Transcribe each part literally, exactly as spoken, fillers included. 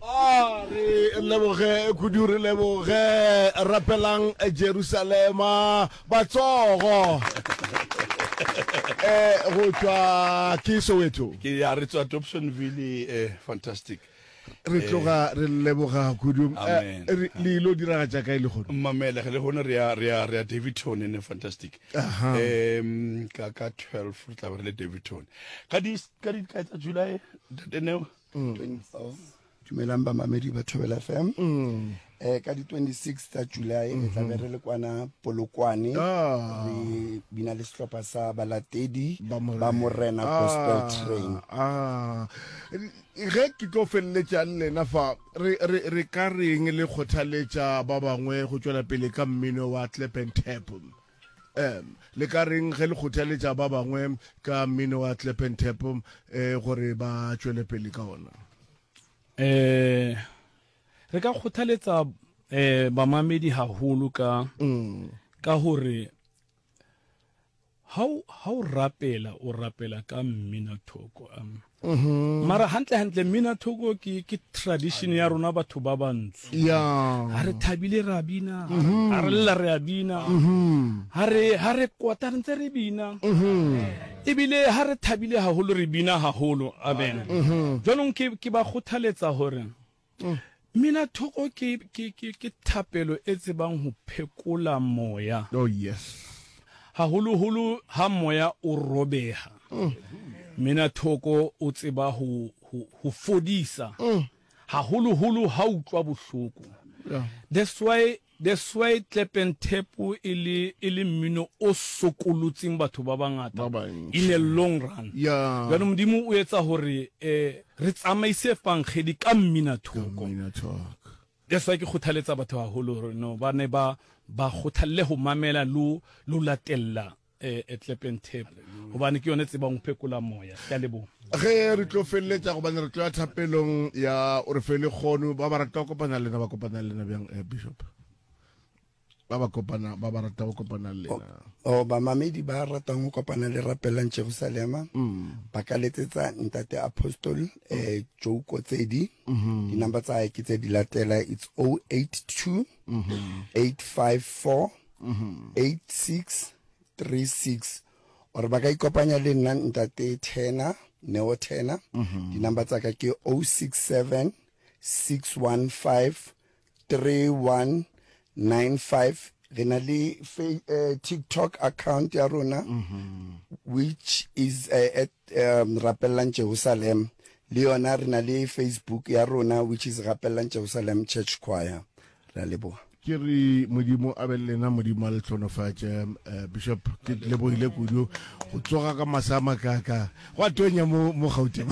A re leboge kudu, re leboge. Rapelang Jerusalema, batsogo. Eh, go tšwa ke Soweto. Ke ya re tswa Dobsonville, eh, fantastic. Re tloga re leboga kudu. Amen. Eh, re- le ilo diragatša kae lehono? Mamela ge lehono re ya re ya re ya Daveyton ene fantastic. Aha. Em ka ka twelve re tla be re le Daveyton. Ka di ka di kae tsa July ntate Neo? Dumelang bamamedi ba Thobela F M. Eh, ka di twenty-six tsa July re tla be re le kwana Polokwane. Ah. Re bina le sehlopha sa balatedi Ba Morena. ba Morena Gospel Train. Ah. Ge ke tlo feleletša le lena fa, re, re, re ka reng le kgothaletša ba bangwe go tšwela pele ka mmino wa clap and tap? Um, le ka reng ge le kgothaletša ba bangwe ka mmino wa clap and tap, eh, gore ba tšwele pele ka ona? Eh, re ka kgothaletsa, eh, bamamedi haholo ka, Mm. ka hore ha o, ha o rapela, o rapela ka mmina thoko, um. Mm-hmm. Mara hantle hantle mmina thoko ke, ke tradition ya rona batho ba bantsho. Yeah. Ha re thabile re a bina, Mm-hmm. ha re lla re a bina, Mm-hmm. ha re, ha re kwata re ntse re bina. Mm-hmm. Ebile ha re thabile haholo re bina haholo. Amen. Mm-hmm. Jwanong ke, ke ba kgothaletsa hore Mm. mmina thoko ke, ke, ke, ke thapelo e tsebang ho phekola moya. Oh yes. Haholoholo ha moya o robeha. Mm. Mmina thoko o tseba ho, ho, ho fodisa. Mm. Haholoholo ha utlwa bohloko. Yeah. That's why, that's why clap and tap e le, e le mmino o sokolotseng batho ba bangata Ba bantši. in a long run. Yeah. Jwanong Modimo o etsa hore, eh, re tsamaise evangeli ka mmina thoko. Mmina thoko. That's why ke kgothaletsa batho haholo hore no ba ne ba, ba kgothalle ho mamela lo, lo latella, eh, eh, clap and tap. Hobane ke yone tsebang ho phekola moya. Ke a leboha. Ge re tlo feleletša, gobane re tlo ya thapelong ya o re fe lekgono, ba ba rata go kopana le lena, ba kopana le lena bjang, eh, Bishop? Ba ba kopana, ba ba rata go kopana le lena. O, o, bamamedi ba ratang go kopana le Rapelang Jerusalema, Mm. ba ka letsetsa ntate Apostle, eh, Joe Kotsedi. Mm-hmm. Di-number tsa hae ke tse di latela, it's oh eight two, Mm-hmm. eight five four, Mm-hmm. eight six three six. Or ba ka ikopanya le nna ntate Tena, Neo Tena. Mm-hmm. Di-number tsa ka ke oh six seven, six one five, three one nine five. Re na le fa-, eh, TikTok account ya rona, Mm-hmm. which is, eh, at, um, Rapelang Jerusalem. Le yona re na le Facebook ya rona, which is Rapelang Jerusalem Church Choir. Re a leboha. Ke re Modimo a be le lena, Modimo a le hlonofatše. Eh, Bishop, ke lebohile kudu go tsoga ka masa a makaka. Go a tonya mo, mo Gauteng.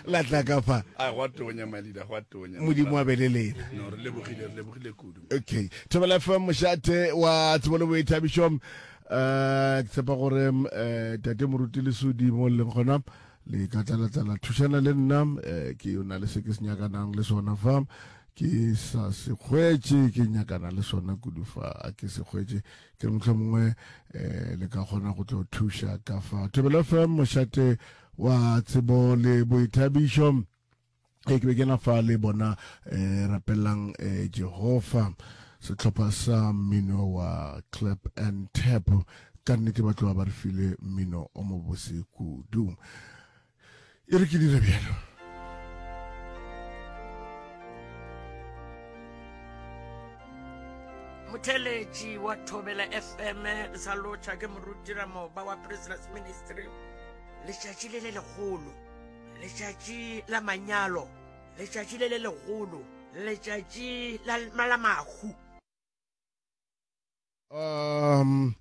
La tla ka fa. A go a tonya, my leader, go a tonya. Modimo a be le lena. No, re lebogile, re lebogile kudu. Okay. Thobela F M, mošate wa tsebo le boithabišo. Eh, ke tshepa gore, eh, tate Moruti Lesodi mo leng gona, le ka tla la tla la thušana le nna, eh, ke o na le se ke se nyakanang le sona fa. Ke sa se hwetše, ke nyakana le sona kudu fa, a ke se hwetše. Ke re mohlomongwe, eh, le ka kgona go tlo thuša ka fa. Thobela F M, mošate wa tsebo le boithabišo. E ke be ke na fa le bona, eh, rapelang, eh, Jehova, sehlopha sa mmino wa clap and tap. Ka nnete ba tloga ba re file mmino o mobose kudu. E re ke dire bjalo. Motheletši wa Thobela F M, le sa lotšha ke moruti Ramoba wa Prisoners Ministry. Letšatši le le legolo, letšatši la manyalo, letšatši le le legolo, letšatši la, la mahu. Um,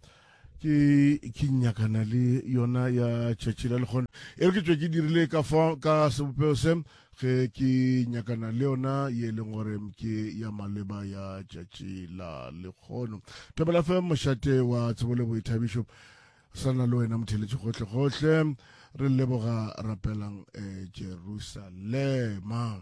ke, ke nyakana le yona ya tšatši la lekgono. E re ke tšwe ke dirile ka fa, ka sebopego se, ge ke nyakana le yona ye e leng gore ke ya maleba ya tšatši la lekgono. Thobela F M, mošate wa tsebo le boithabišo. Sa na le wena motheletši gohle gohle. Re leboga rapelang, eh, Jerusalema.